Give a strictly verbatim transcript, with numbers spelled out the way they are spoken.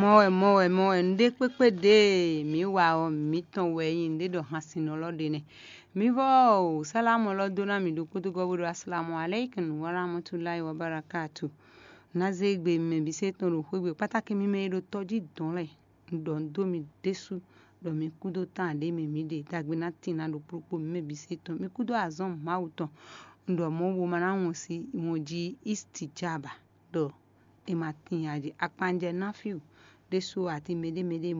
Mɔ wɛ, mɔ wɛ, mɔ wɛ, nǔɖé kpékpé ɖě mǐ wa ɔ́, mǐtɔn wɛ nyí nǔɖé ɖɔ hansinnɔ lɔ ɖe nɛ́. Mǐ vɔ o, sálámù lɔ dó ná mì ɖokpó dó gɔ́ bó ɖɔ asalamu aleykum wa rahmatulahi wa barakatu. Ná zé gbe mɛ bǐ se tɔn ɖo xwé gbe kpátákí mímɛ́ e ɖo tɔjí dɔn lɛ́ɛ. Un ɖɔ un dó mi ɖésú ɖɔ mi kú dó tán ɖě mɛ mǐ ɖe, dagbe ná tin ná ɖo kplɔ́kpó mǐ mɛ bǐ se tɔn. Mi kú dó azɔn Mawu tɔn. Un ɖɔ mɔ̌ bo ma ná wɔn si wɔn jí istijaba ɖɔ è ma tin ǎ jí. Akpanjɛ náfíu ɖésú ati mɛɖé mɛɖé